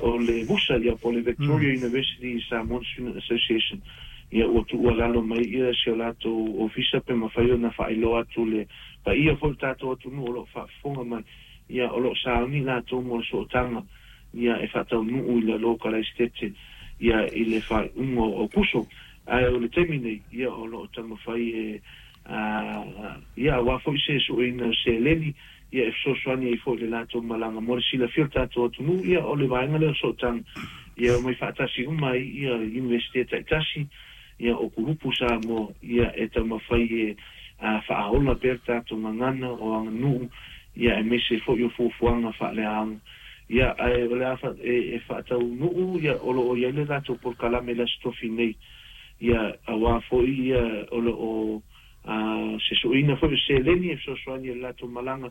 o le VUSA, ia, po o le Victoria University Samoan Student Association, ia, ua tuualalo mai ia si o latou ofisa pe mafai ona faailoa atu le paia foi o le tatou atunuu o lo o faafofoga mai, ia, o lo o sauni latou mo le sootaga, ia, e faataunuu i le lokalaisitete, ia, i le faaiuga o Aokuso. Ae o le taimi nei, ia, o lo o taumafai e, ia, aua foi se sueina o seleni, ia, e fesoasoani ai foi i le latou malaga. Mo le silafia o le tatou atunuu, ia, o le vaega lea o le sootaga, ia, e omai faatasi uma ai ia Iunivesite taitasi, ia, o kulupu Samoa, ia, e taumafai e faaola pea le tatou gagana o aganuu, ia, aemaise foi o fuafuaga faaleaoga. Ia, ae o le a e faataunuu, ia, o lo o i ai le latou polokalame i le Aso Tofi nei, ia, aua foi, ia, o lo o se suiina foi o seleni e fesoasoani i le latou malaga,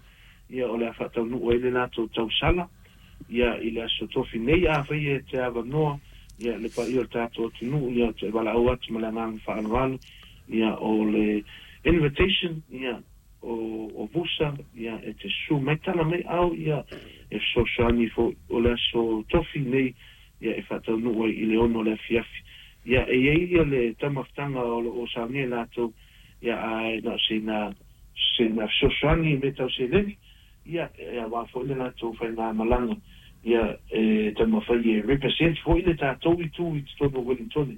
ia, o le a faataunuu ai le latou tausala, ia, i le Aso Tofi nei. Afai e te avanoa, ia, le paia o le tatou atunuu, ia, ou te valaau atu ma le agaga faaaloalo, ia, o le invitation, ia, o VUSA, ia, e te susu mai, tala mai ao, ia, e fesoasoani foi. O le Aso Tofi nei, ia, e faataunuu ai i le 6 o le afiafi. Ia, e i ai ia le taumafataga o lo o saunia e latou, ia, ae na o sina sina fesoasoani i mea tau seleni, ia, e aua foi le latou faigamalaga, ia, e taumafai e represent foi le tatou itu i totonu o Wellingtone,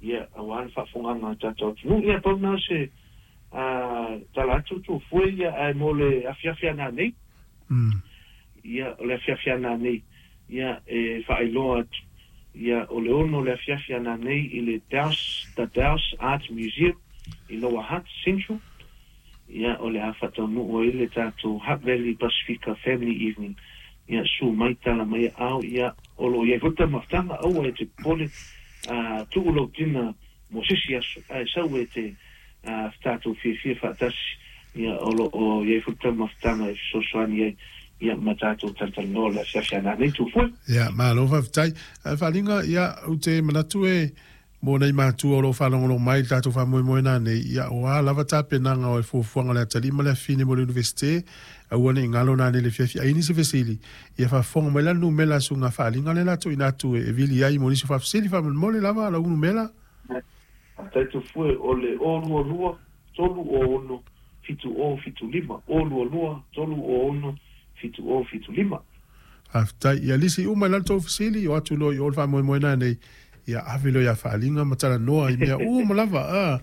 ia, aua le faafofogaga a tatou atunuu. Ia, pau na o se tala atu tuafue, ia, ae mo le afiafi ana nei, ia, o le afiafi ana nei, ia, e faailoa atu, ia, o le 6 o le afiafi ana nei i le Dowse, The Dowse Art Museum i Lower Hutt Central, ia, o le a faataunuu ai le tatou Hutt Valley Pasifika Family Evening. Ia, susu mai, tala mai aao, ia, o lo o i ai foi le taumafataga, aua e te popole, tuu lou tina mo se isi aso, ae sau e te tatou fiafia faatasi, ia, o lo o i ai foi le taumafataga e fesoasoani ai, ia, ma tatou talatalanoa le afiafi a nanei Tufue. Ia, malo faafetai. Ae Faaliga, ia, ou te manatu e mo nai matua o lo o faalogologo mai i le tatou faamoemoe nanei, ia, o a lava tapenaga o le fuafuaga o le atalii ma le afafine mo le Iunivesite, aua ne i galo nanei i le afiafi. A i ai nisi fesili, ia faafofoga mai la le numera a suiga Faaliga lea o le a tuuina atu e vili ai mo nisi o faafesili faamolemole lava lau numera. Faafetai Tufue, o le 022 306 7075, 022 306 7075. Faafetai. Ia lisi uma i lalo tou fesili, o atu loa i o le faamoemoe nanei, ia ave loa ia Faaliga ma talanoa i mea uma lava, a.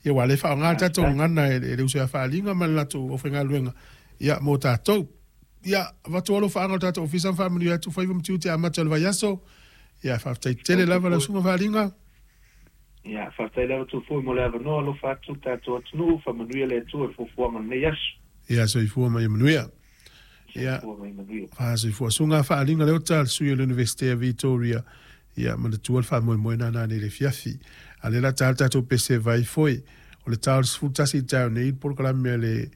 Ia aua o lea e faaaoga le tatou gagana e le uso ia Faaliga ma le latou aufaigaluega, ia mo tatou. Ia, avatu alofaaga o le tatou ofisa ma faamanuia atu faiva ma tiute amata o le vaiaso. Ia, faafetai tele lava lau susuga Faaliga. Ia, faafetai lava Tufue mo le avanoa, alofa atu le tatou atunuu, faamanuia le Atua i fuafuaga o lenei aso. Ia, soifua ma ia manuia. Ia, soifua ma ia manuia. Soifua. Susuga Faaliga Leota, le sui o le Iunivesite a Vitoria, ia, manatua le faamoemoe nana nei le afiafi. A lea la ta le tatou pese vai foi, o le ta o le 11 i taeao nei, le polokalame a le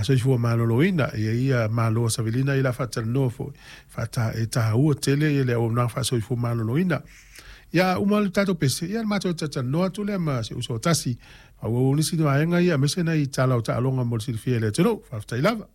soifua maloloina, ia ia malo a Savelina ia la faatalanoa foi, faata, e tāua tele ia le auaunaga faasoifua maloloina. Ia uma le tatou pese, ia le matou talatalanoa atu lea ma si uso tasi. Faaauau nisi vaega ia, aemaise nai tala o taaloga mo le silafia e le atunuu. Faafetai lava.